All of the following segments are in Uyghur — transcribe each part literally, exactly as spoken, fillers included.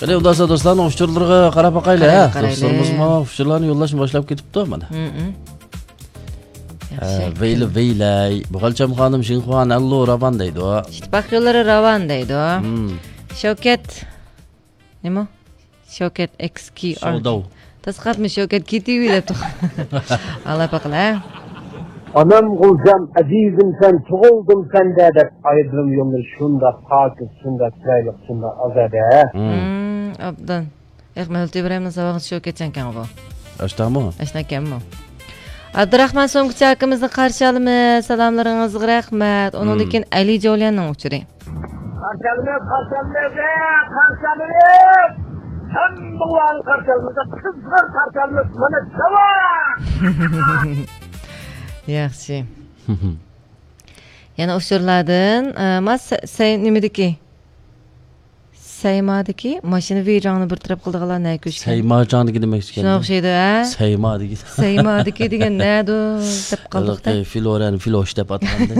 قېنى، ئۇنداقسا دوستلارنىڭ ئۇچۇرلىرىغا قاراپ باقايلى، ھە؟ قارايلى، قارايلى. دوستلىرىمىزمۇ ئۇچۇرلارنى يوللاشنى باشلاپ كېتىپتۇ مانا. ھە، ۋەيلى ۋەيلەي. بۇ خالچام خانىم شىنخۇا نەنلۇ راۋان دەيدۇ. ئىتتىپاق يوللىرى راۋان دەيدۇ. شەۋكەت. نېمە؟ شەۋكەت ئېكس كىي ئار. شاۋداۋ. تاسقاتمۇ شەۋكەت كېتىۋى دەپتۇ. ئاڭلاپ باقىلى. ئانام غۇلجام، ئەزىزىم سەن، تۇغۇلدۇم سەندە دەپ ئايرىلىم يوللىرى شۇنداق پاكىز، شۇنداق چىرايلىق، شۇنداق ئازادە. مم، ئوبدان. ياق، مەۋلۇت ئىبراھىمنىڭ ساۋاقى شۇ كەچەنكەن بۇ. ئاشتامۇ؟ ئاشتاكەنمۇ؟ ئابدۇراخمان سومكىچى ئاكىمىزنى قارشى ئالىمىز. سالاملىرىڭىزغا رەھمەت. ئۇنىڭدىن كېيىن ئەلى جوليەننىڭ ئۇچۇرى. قارشى ئالىمىز، قارشى ئالىمىز، قارشى ئالىمىز! ھەممىڭلارنى قارشى ئالىمىز، قىزغىن قارشى ئالىمىز، مانا داۋا! ياخشى. يەنە ئۇچۇرلاردىن، ئە، ما سە-، سەي-، نېمىدىكى؟ سەيمادىكى ماشىنا ۋىجاڭنى بىر تەرەپ قىلىدىغانلار نە كۆچكەن؟ سەيماجاڭدىكى دېمەكچىكەن. شۇنىڭغا ئوخشايدۇ، ھە؟ سەيمادىكى. سەيمادىكى دېگەن نەدۇ دەپ قالدۇق-دە. ھېلىقى فلورەن فلوش دەپ ئاتىغاندا.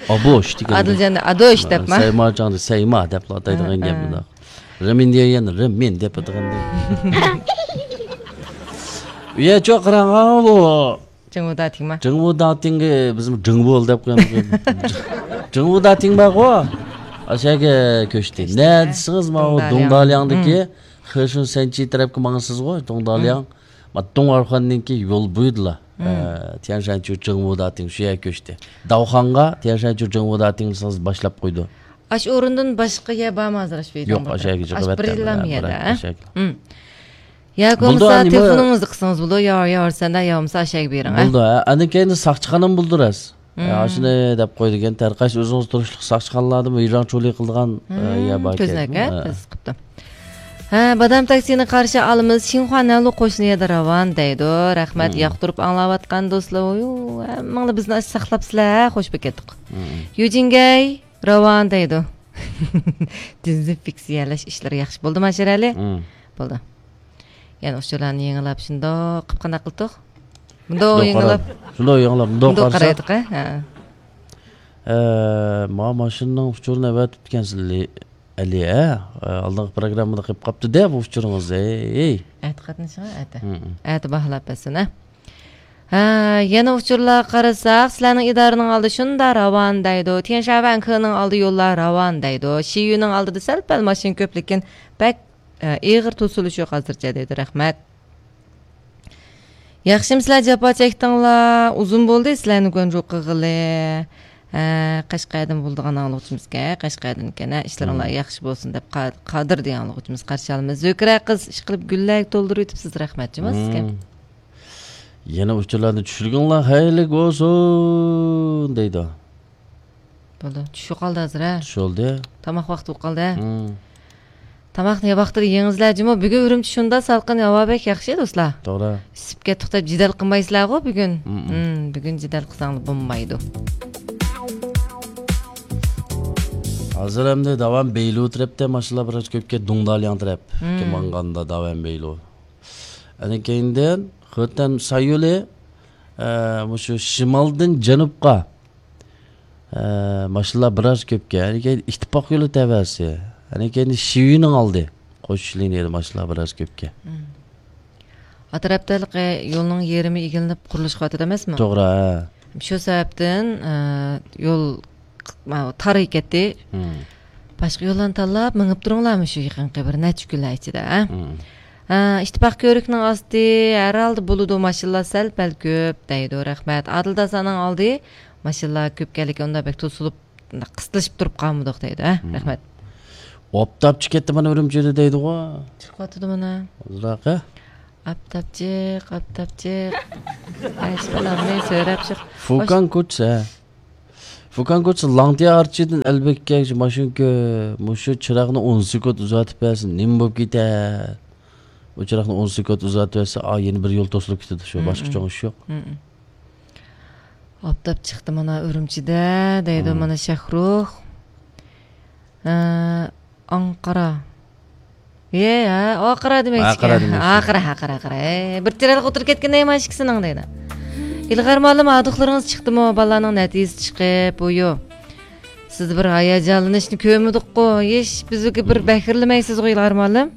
ئابوش دېگەن. ئادىلجان ئادوش دەپما؟ سەيماجاڭدا سەيما دەپلا ئاتايدىغان ھە، گەپ ھە. بۇنداق. رىمىن دېگەن رىمىن دەپ ئاتىغاندا. يە، چوق قاراڭ، ئاۋۇ. جىڭۋۇ داتىڭما؟ جىڭۋۇ داتىڭگە بىزمۇ جىڭۋول دەپ قويامىز. جىڭۋۇ داتىڭ بارغۇ. ئاشەگە كۆچتى. كۆچتى، نە ھە؟ دېسىڭىز، ماۋۇ دۇڭدالياڭ. دۇڭدالياڭدىكى مم. خېشۇن سەنچى تەرەپكە ماڭىسىزغۇ، دۇڭدالياڭ. مم. ما دۇڭئارخۇاننىڭكى يول بويىدىلا. مم. ئە، تيەنشانچۇ جىڭۋۇ داتىڭ شۇ يەرگە كۆچتى. داۋخانغا تيەنشانچۇ جىڭۋۇ داتىڭ دېسىڭىز باشلاپ قويىدۇ. ئاش ئورۇندىن باشقا يەر بارمۇ ھازىر ئاش بېيتىڭ يوق، بولدى؟ ئاشەگە ئاش جىغىۋەتتى. بىرلا ھە، يەردە، بىر ھە؟ ئاشەگە. مم. ياكى بولدى، بولمىسا ئەمدى تېلېفونىڭىزنى قىلسىڭىز بولىدۇ، يا، يا، سەندە، يا بولمىسا ئاشەگە بېرىڭ، ھە؟ بولدى، ھە. ئاندىن كېيىن ساقچىخانىمۇ بولدى راست. مم. ھە، ئاشۇنى دەپ قويدىكەن، تەرقەش ئۆزىڭىز تۇرۇشلۇق ساقچىخانىلاردىمۇ ھىجران چولى قىلىدىغان، ئە، مم، يەر بار كۆزنەك، ھە؟ ھە؟ تېز قىپتۇ. ھە، بادام تاكسىنى قارشى ئالىمىز، شىنخۇا نەنلۇ قوشنا يەردە راۋان دەيدۇ. رەھمەت، مم. ياقتۇرۇپ ئاڭلاۋاتقان دوستلار. ۋۇيۇ، ھەممىڭلار بىزنى ساقلاپسىلەر، ھە؟ خوش بولۇپ كەتتۇق. مم. يۇجىنگەي. راۋان دەيدۇ. دېزىنفېكسىيەلەش ئىشلىرى ياخشى بولدىما، شېرەلى؟ مم. بولدى. يەنە ئۇچۇرلارنى يېڭىلاپ شۇنداق قىپ قانداق قىلدۇق؟ مۇنداق شۇنداق يېڭىلاپ. قاراپ، شۇنداق يېڭىلاپ، مۇنداق مۇنداق قارىساق. قارايدۇق، ھە. ئە، ما ماشىنىنىڭ ئۇچۇرىنى ئەۋەتىپتىكەنسىز، ئەلى، ئە؟ ئە، ئالدىنقى پروگراممىدا قېلىپ قاپتۇ-دە بۇ ئۇچۇرىڭىز، ھەي. ئەتە قاتنىشىڭ، ئەتە. مم. ئەتە باھالاپ بەرسۇن، ھە. ھە، يەنە ئۇچۇرلارغا قارىساق، سىلەرنىڭ ئىدارىنىڭ ئالدى شۇنداق راۋان دەيدۇ. تيەنشانۋەن كېنىڭ ئالدى يوللار راۋان دەيدۇ. شىيۈنىڭ ئالدىدا سەل-پەل ماشىنا كۆپ، لېكىن بەك، ئە، ئېغىر توسۇلۇش يوق ھازىرچە دەيدۇ. رەھمەت. ياخشىمۇ سىلەر جاپا چەكتىڭلار؟ ئۇزۇن بولدى سىلەرنى گۇەنجۇ قىلغىلى. ھە، قەشقەردىن بولىدىغان ئاڭلىغۇچىمىزكەن، قەشقەردىن ئىكەن، ھە، ئىشلىرىڭلار مم. ياخشى بولسۇن دەپ قا-، قادىر دېگەن ئاڭلىغۇچىمىز قارشى ئالىمىز. زۆكرە قىز ئىشقىلىپ گۈللەرگە تولدۇرۇۋېتىپسىز، رەھمەت جۇمۇ سىزگە. مم. يەنە ئۇچۇرلارنى چۈشۈرگىنىلا خەيرلىك بولسۇن دەيدۇ. بولدى. چۈش بولۇپ قالدى ھازىر، ھە؟ چۈش بولدى. تاماق ۋاقتى بولۇپ قالدى، ھە؟ مم. تاماقنى ۋاقتىدا يېڭىزلەر جۇمۇ. بۈگۈن ئۈرۈمچى شۇنداق سالقىن، ھاۋا بەك ياخشى، دوستلار. توغرا. ئىسسىپ كەتتۇق دەپ جېدەل قىلمايسىلەرغۇ بۈگۈن؟ مم. مم، بۈگۈن جېدەل قىلساڭلار بولمايدۇ. ھازىر ئەمدى داۋان بېيلۇ تەرەپتە ماشىنىلار بىراز كۆپكەن، دۇڭدالياڭ تەرەپ. مم. ماڭغاندا داۋان بېيلۇ. ئەنە كېيىندىن خېتەن سايولى، ئە، مۇشۇ شىمالدىن جەنۇبقا، ئە، ماشىنىلار بىراز كۆپكەن. ئەنە كېيىن ئىتتىپاق يولى تەۋەسى. ئەنە كېيىن شىۋىنىڭ ئالدى. قوشۇش لىنىيەدە ماشىنىلار بىراز كۆپكەن. مم. ئا تەرەپتە ھېلىقى يولنىڭ يېرىمى ئىگىلىنىپ قۇرۇلۇش قىلىۋاتىدۇ ئەمەسمۇ؟ توغرا، ھە. شۇ سەۋەبتىن، ئە، يول ماۋۇ تار كەتتى. مم. باشقا يوللارنى تاللاپ مېڭىپ تۇرۇڭلارمۇ شۇ يېقىنقى بىر نەچچە كۈنلەر ئىچىدە، ھە؟ مم. ھە، ئىتتىپاق كۆۋرۈكنىڭ ئاستى ھەر ھالدا بولىدۇ، ماشىنىلار سەل-پەل كۆپ دەيدۇ، رەھمەت. ئادىل داسانىڭ ئالدى ماشىنىلار كۆپكەنلىكى ئۇنداق بەك توسۇلۇپ، قىستىلىشىپ تۇرۇپ قالمىدۇق دەيدۇ، ھە؟ مم. رەھمەت. ئاپتاپچى كەتتى مانا ئۈرۈمچىدە دەيدىغۇ. چىقىۋاتىدۇ مانا. ئۇزراقى. ئاپتاپچىق، ئاپتاپچىق. ئەي، شۇ بالامنى سۆرەپ شۇ. فۇكان كوچىسى، ھە. فۇكان كوچىسى لاڭتيا ئارچىدىن ئەلبەككە ماشىنا كۆ-، مۇشۇ چىراغنى ئون سېكۇنت ئۇزارتىپ بەرسە نېمە بولۇپ كېتەر؟ ئۇ چىراغنى ئون سېكۇنت ئۇزارتىپ بەرسە، ئا، يەنە بىر يول توسۇلۇپ كېتىدۇ شۇ. مم، باشقا مم. چوڭ ئىش يوق. مم، مم. ئاپتاپ چىقتى مانا ئۈرۈمچىدە دەيدۇ مم. مانا شاھرۇخ. ئە، ئاڭقارا. يە، ھە، ئاقارا دېمەكچىكەن. ئاقارا دېمەكچى. ئاقارا، ئاقارا، ئاقارا. ئەي، بىر تىرەلىك ئولتۇرۇپ كەتكەن نېمە ئىككىسىنىڭ دەيدۇ. ئىلغار مۇئەللىم، ھاردۇقلىرىڭىز چىقتىمۇ؟ بالىلارنىڭ نەتىجىسى چىقىپ، بۇيۇ. سىز بىر ھاياجانلىنىشنى كۆرمىدۇققۇ، ھېچ بىزگە بىر بەكرىلىمەيسىزغۇ، ئىلغار مۇئەللىم.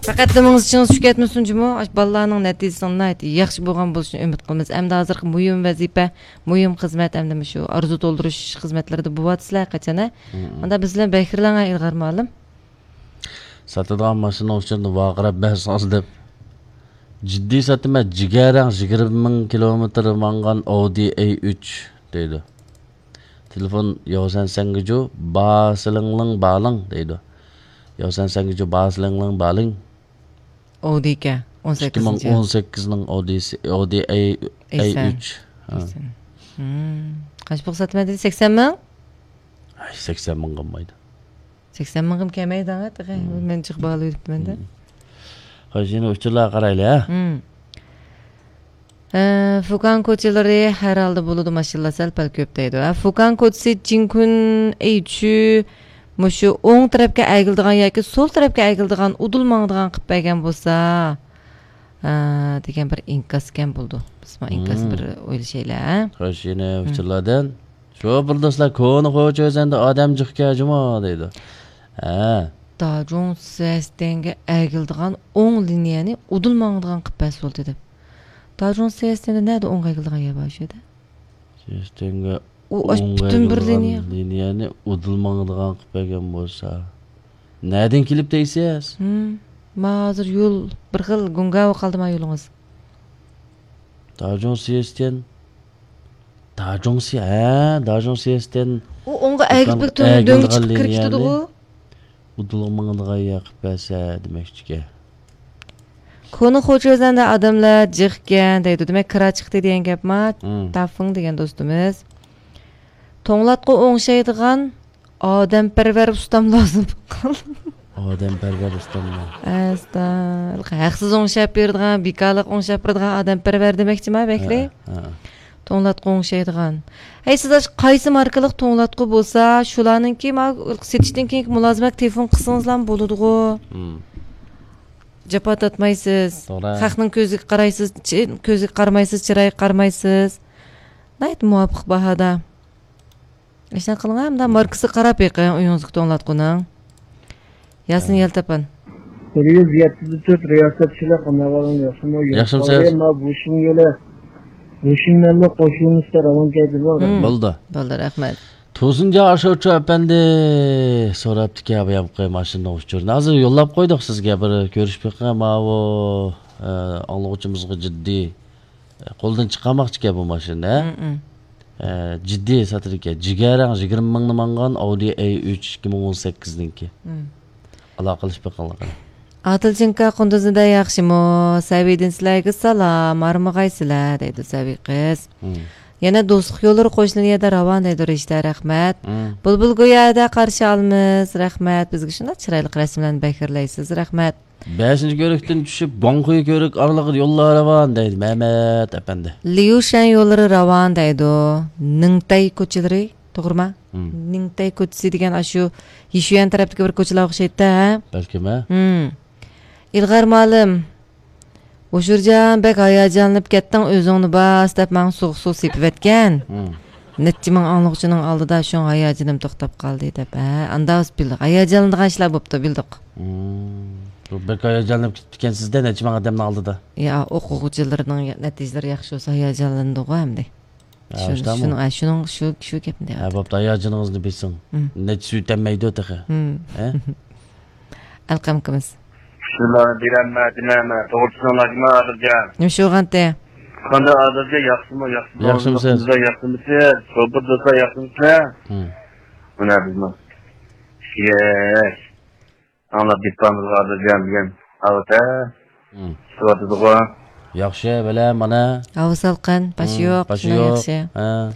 پەقەتلا مېڭىڭىز ئىچىڭىز چۈشۈپ كەتمىسۇن جۇمۇ. ئاشۇ بالىلارنىڭ نەتىجىسىنىڭ ناھايىتى ياخشى بولغان بولۇشىنى ئۈمىد قىلىمىز. ئەمدى ھازىرقى مۇھىم ۋەزىپە، مۇھىم خىزمەت، ئەمدى مۇشۇ ئارزۇ تولدۇرۇش خىزمەتلىرىدە بولۇۋاتىسىلەر ھەرقاچان، ھە؟ مم. ئاندا بىز بىلەن بەكرىلەڭ، ئىلغار مۇئەللىم. ساتىدىغان ماشىنىنىڭ ئۇچۇرىنى ۋارقىراپ بەرسىڭىز دەپ. جىددىي ساتىمەن، جىگەرەڭ، يىگىرمە مىڭ كىلومېتىر ماڭغان ئاۋدى ئەي ئۈچ دەيدۇ. تېلېفون ياۋسەن سەنگىجۇ باسىلىڭلىڭ بالىڭ دەيدۇ. ياۋسەن سەنگىجۇ باسىلىڭلىڭ بالىڭ. ئاۋدىكەن، ئون سەككىزىنچى. ئىككى مىڭ ئون سەككىزنىڭ ئاۋدىسى، ئاۋدى ئەي، ئەي ئۈچ. ھە. ئەيسەن. مم. قانچە پۇل ساتىمەن دېدى؟ سەكسەن مىڭ؟ ئەي، سەكسەن مىڭ قالمايدۇ. سەكسەن مىڭغىمۇ كەلمەيدۇ، تېخى. مم. مەن جىق باھا بېرىپتىمەن-دە. مم. خوش، يەنە ئۇچۇرلارغا قارايلى، ھە؟ مم. ئە، فۇكان كوچىلىرى ھەر ھالدا بولىدۇ، ماشىنىلار سەل-پەل كۆپ دەيدۇ. ھە، فۇكان كوچىسى جىنكۈن ئېيچۈ مۇشۇ ئوڭ تەرەپكە ئەگىلىدىغان ياكى سول تەرەپكە ئەگىلىدىغان ئۇدۇل ماڭىدىغان قىلىپ بەرگەن بولسا، ھە، دېگەن بىر ئىنكاسكەن بولىدۇ. بىز ما ئىنكاس مم. بىر ئويلىشايلى، ھە؟ خوش، يەنە مم. ئۇچۇرلاردىن. شوپۇر دوستلار، كونا خوچا ئۆزەندە ئادەم جىقكەن جۇمۇ دەيدۇ. ھە. داجۇڭ سىيەستەنگە ئەگىلىدىغان ئوڭ لىنىيەنى ئۇدۇل ماڭىدىغان قىلىپ بەرسە بولدى دەپ. داجۇڭ سىيەستەندە نەدە ئوڭغا ئەگىلىدىغان يەر بار شۇ يەردە؟ سىيەستەنگە ئۇ ئاش ئوڭغا پۈتۈن بىر ئەگىلىدىغان لىنىيە. لىنىيەنى ئۇدۇل ماڭىدىغان قىلىپ بەرگەن بولسا. نەدىن كېلىپ دەيسىز؟ ھىم، ما ھازىر يول بىر خىل گۇڭگاۋا قالدى ما يولىڭىز. داجۇڭ سىيەستەن. داجۇڭ سى-، ھە، داجۇڭ سىيەستەن. ئۇ ئوڭغا ئەگىپ دۇكان بىر تۆ-، دۆڭگە ئەگىلىدىغان چىقىپ كىرىپ لىنىيەنى كېتىدىغۇ. ئۇدۇلغا ماڭىدىغان ياقىپ بەرسە دېمەكچىكەن. كونا خوچا ئۆزەندە ئادەملەر جىقكەن دەيدۇ. دېمەك، كىرا چىقتى دېگەن گەپما. ھىم. تافىڭ دېگەن دوستىمىز. توڭلاتقۇ ئوڭشايدىغان ئادەمپەرۋەر ئۇستام لازىم بولغان. ئادەمپەرۋەر ئۇستاممۇ؟ ئەستا، ھەقسىز ئوڭشاپ بېرىدىغان، بىكارلىق ئوڭشاپ بېرىدىغان ئادەمپەرۋەر دېمەكچىما بەكرى؟ ھە، ھە. توڭلاتقۇ ئوڭشايدىغان. ھەي، سىز ئاشۇ قايسى ماركىلىق توڭلاتقۇ بولسا، شۇلارنىڭكى ما سېتىشتىن كېيىنكى مۇلازىمەتكە تېلېفون قىلسىڭىزلارمۇ بولىدىغۇ. ھىم. جاپا تارتمايسىز. توغرا. خەقنىڭ كۆزىگە قارايسىز، چى-، كۆزىگە قارىمايسىز، چىرايىغا قارىمايسىز. ناھايىتى مۇۋاپىق باھادا. ئىشنى قىلىڭ، ھەمدە ماركىسىغا قاراپ بېقىڭ ئۆيىڭىزدىكى توڭلاتقۇنىڭ. ياسىن ھە. يەلتاپان. بىر يۈز يەتتە تۆت رىياسەتچىلىك ئەھۋالىڭ ياخشىمۇ؟ ياخشىمۇسىز؟ ما بۇشىڭ يولى، بۇشىڭ مەنمۇ قوشۇلمىسا راۋان كەيدىمۇ؟ ھىم. بولدى. بولدى، رەھمەت. تۇرسۇنجان ئاشۇچۇ ئەپەندى سوراپتىكەن، بۇ ياققا ماشىنىنىڭ ئۇچۇرىنى. ھازىر يوللاپ قويدۇق سىزگە، بىر كۆرۈشۈپ بېقىڭ، ماۋۇ، ئە، ئاڭلىغۇچىمىزغا جىددىي قولدىن چىقارماقچىكەن بۇ ماشىنىنى، ھە؟ مم، مم. ئە، جىددىي ساتىدىكەن. جىگەرەڭ يىگىرمە مىڭنى ماڭغان ئاۋدى ئەي ئۈچ ئىككى مىڭ ئون سەككىزنىڭكى. مم. ئالاقىلىشىپ بېقىڭلار. ئادىلجىنكا قۇندۇزنىدە ياخشىمۇ؟ سەۋىدىن سىلەرگە سالام، ھارمىغايسىلەر، دەيدۇ سەۋىي قىز. مم. يەنە دوستلۇق يوللىرى قوشنا يەردە راۋان دەيدۇ رىشتە، رەھمەت. مم. بۇلبۇل گويادا قارشى ئالىمىز، رەھمەت. بىزگە شۇنداق چىرايلىق رەسىملەرنى بەكرىلەيسىز، رەھمەت. بەشىنچى كۆۋرۈكتىن چۈشۈپ، گۇاڭخۇي كۆۋرۈك ئارىلىقىدا يوللار راۋان دەيدۇ مەمەت ئەپەندى. ليۇشەن يوللىرى راۋان دەيدۇ. نىڭتەي كوچىلىرى، توغرىما؟ ھىم. نىڭتەي كوچىسى دېگەن ئاشۇ يىشۈەن تەرەپتىكى بىر كوچىلار ئوخشايدۇ-ھە؟ بەلكىم، ھە؟ ھىم. ئىلغار مۇئەللىم، ھوشۇرجان، بەك ھاياجانلىنىپ كەتتىڭ، ئۆزۈڭنى باس دەپ ماڭا سوغۇق سۇ سېپىۋەتكەن. ھىم. نەچچە مىڭ ئاڭلىغۇچىنىڭ ئالدىدا شۇڭا ھاياجىنىم توختاپ قالدى دەپ. ھە، ئاندا بىلدۇق. ھاياجانلىنىدىغان ئىشلار بوپتۇ، بىلدۇق. ھىم. بۇ بەك ھاياجانلىنىپ كېتىپتىكەنسىز-دە، نەچچە مىڭ ئادەمنىڭ ئالدىدا. يا، ئوقۇغۇچىلىرىنىڭ نەتىجىلىرى ياخشى بولسا ھاياجانلىنىدىغۇ ئەمدى. ھە، شۇ-، شۇنداقمۇ؟ شۇنىڭ، ھە، شۇنىڭ، شۇ، شۇ گەپنى ھە، دەۋاتىمەن. بوپتۇ، ھاياجىنىڭىزنى بېسىڭ. ھىم. نەچچە سۈيتەممەيدۇ تېخى. ھىم. ھە؟ ئەلقەم ئاكىمىز. شۇلارنى بېرەلمەي، دېمەيمەن. توغرا چۈشىنىڭلار جۇما ئادىلجان. نېمە ئىش بولغانتى؟ قانداق ئادىلجان، ياخشىمۇ، ياخشىمۇ؟ ياخشىمۇسىز؟ ياخشىمۇسىز؟ سوپۇر دوستلار ياخشىمۇسىلەر؟ ھىم. مانا بىزمۇ ئىشلەش. ئاڭلاپ بېتىپامىزغۇ ئادىلجان بۈگۈن. ئاۋۇ تە. ھىم. چىقىۋاتىدىغۇ. ياخشى، بىلە، مانا. ھاۋا سالقىن، باشى ھىم، يوق، باشى شۇنداق يوق. ياخشى. ھە.